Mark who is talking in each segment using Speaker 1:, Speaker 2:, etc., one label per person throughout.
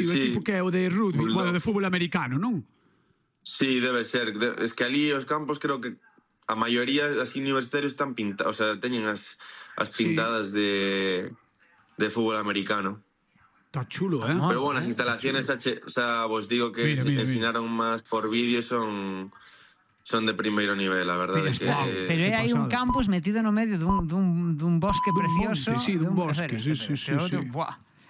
Speaker 1: o equipo que é o de rugby, bueno, de fútbol americano, non?
Speaker 2: Sí, debe ser. Es que ali os campos creo que a maioría das universitarios están pintados, o sea, teñen as pintadas de fútbol americano.
Speaker 1: Está chulo,
Speaker 2: Pero bueno, as instalaciones, o sea, vos digo que enseñaron máis por vídeo, son de primeiro nivel, a verdade.
Speaker 3: Pero hai un campus metido no medio dun bosque precioso.
Speaker 1: Sí, dun bosque, sí.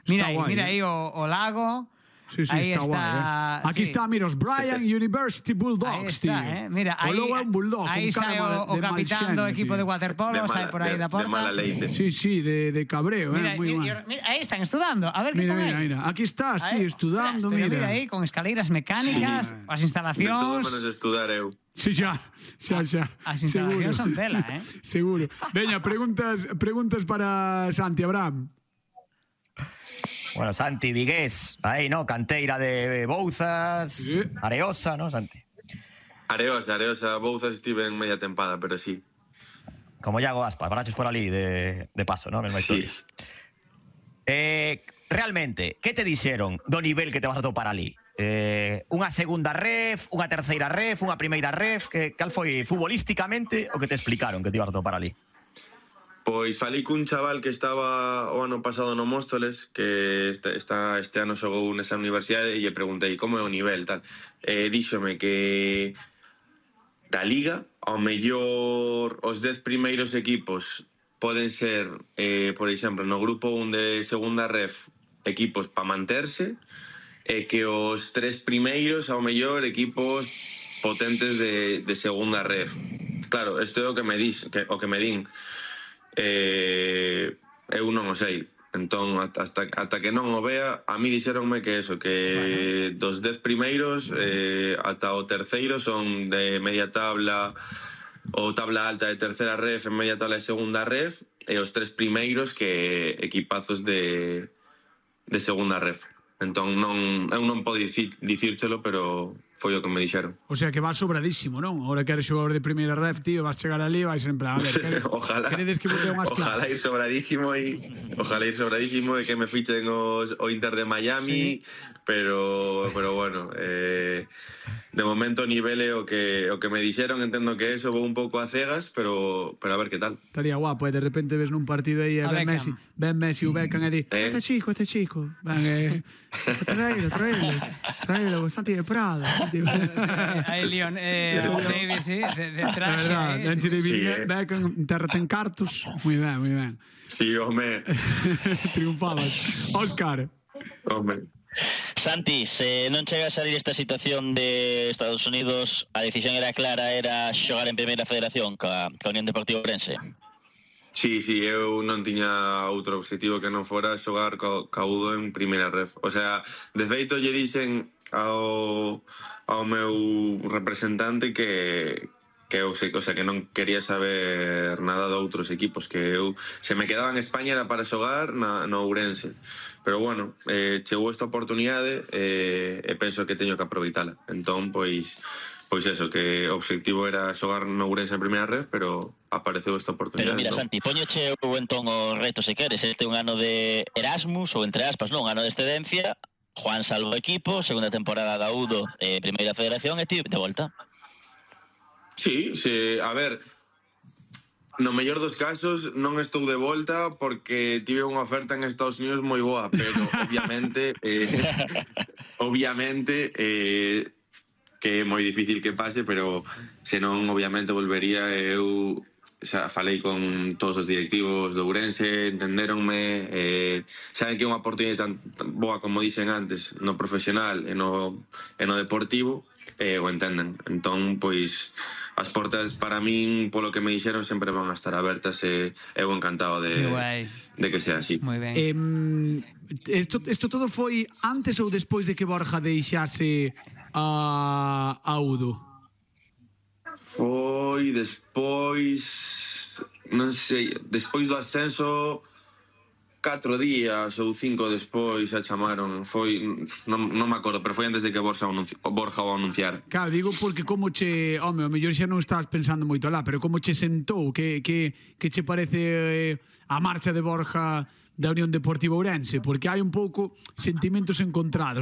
Speaker 3: Mira aí o lago.
Speaker 1: Sí, está guai. Aquí está, mira, os Bryant University Bulldogs, tío.
Speaker 3: Mira,
Speaker 1: o logo é un bulldog.
Speaker 3: Aí sai o capitán do equipo de waterpolo, sai por aí da porta.
Speaker 2: De mala leite.
Speaker 1: Sí, de cabreo,
Speaker 3: mira, aí están estudando, a ver que están aí.
Speaker 1: Mira, aquí estás, tío, estudando, mira.
Speaker 3: Mira aí, con escaleiras mecánicas, as instalacións.
Speaker 2: De todo menos estudar eu.
Speaker 1: Sí, xa.
Speaker 3: As instalacións son tela,
Speaker 1: Seguro. Veña, preguntas para Santi Abraham.
Speaker 4: Bueno, Santi, vigués, aí, ¿no? Canteira de Bouzas, Areosa, ¿no, Santi?
Speaker 2: Areosa, Bouzas estive en media tempada, pero sí.
Speaker 4: Como Iago Aspas, paraches por ali de paso, ¿no? Mesma historia. Sí. Realmente, que te dixeron do nivel que te vas a topar ali? Unha segunda ref, unha terceira ref, unha primeira ref, cal foi futbolísticamente o que te explicaron que te ibas a topar ali?
Speaker 2: Pois falei cun chaval que estaba o ano pasado no Móstoles, que este ano xogou nesa universidade, e lle preguntei como é o nivel, tal. Díxome que da Liga, ao mellor os 10 primeiros equipos poden ser, por exemplo, no grupo 1 de segunda ref, equipos para manterse, e que os 3 primeiros, ao mellor, equipos potentes de segunda ref. Claro, isto é o que me din. Eu non o sei, entón ata que non o vea, a mí dixeronme que eso, que dos 10 primeiros ata o terceiro son de media tabla ou tabla alta de terceira ref, en media tabla de segunda ref, e os 3 primeiros que equipazos de segunda ref. Entón eu non podo dicírchelo, pero foi o que me dixeron.
Speaker 1: O sea que vas sobradísimo, non? Ahora que eres xogador de primeira ref, tío, vas chegar ali e vais en plan, a ver, queredes que bote unhas clases?
Speaker 2: Ojalá ir sobradísimo e que me fichen o Inter de Miami, pero bueno, de momento o nivel é o que me dixeron, entendo que eso vou un pouco a cegas, pero a ver que tal.
Speaker 1: Estaría guapo, de repente ves nun partido aí ven Messi o Beckham e di, este chico, traelo, Santi de Prado.
Speaker 3: Aí Leon Davis, de traxe.
Speaker 1: Antes de Beckham, terra ten cartos. Moi ben.
Speaker 2: Sí, home.
Speaker 1: Triunfabas. Óscar.
Speaker 2: Home.
Speaker 5: Santi, se non chega a salir esta situación de Estados Unidos, a decisión era clara, era xogar en Primeira Federación ca Unión Deportiva Ourense.
Speaker 2: Sí, eu non tiña outro objetivo que non fora xogar ca Udo en Primeira Ref. O sea, de feito lle dixen ao meu representante que eu sei, o sea, que non quería saber nada de outros equipos, que eu, se me quedaba en España era para xogar no Ourense. Pero bueno, chegou esta oportunidade e penso que teño que aproveitala. Entón, pois eso, que o objetivo era xogar no Ourense en Primeira Ref, pero apareceu esta oportunidade.
Speaker 5: Pero mira, Santi, poñoche entón o reto se queres, este é un ano de Erasmus, ou entre aspas, non, un ano de excedencia. Juan salvo o equipo, segunda temporada da Udo, Primeira Federación, e ti de volta.
Speaker 2: Sí, a ver, no mellor dos casos non estou de volta porque tive unha oferta en Estados Unidos moi boa, pero obviamente que é moi difícil que pase, pero senón obviamente volvería. Eu xa falei con todos os directivos do Ourense, entendéronme, saben que é unha oportunidade tan boa como dixen antes no profesional e no deportivo, o entenden. Entón, pois as portas para min, polo que me dixeron, sempre van a estar abertas e eu encantado de que sea así.
Speaker 3: Moi ben.
Speaker 1: Isto todo foi antes ou despois de que Borja deixase a Udo?
Speaker 2: Foi despois, non sei, despois do ascenso, 4 días ou 5 despois a chamaron. Foi, non me acordo, pero foi antes de que Borja o anunciara.
Speaker 1: Claro, digo porque como che, home, o mellor xa non estás pensando moito lá, pero como che sentou, que che parece a marcha de Borja da Unión Deportiva Ourense, porque hai un pouco sentimentos encontrados.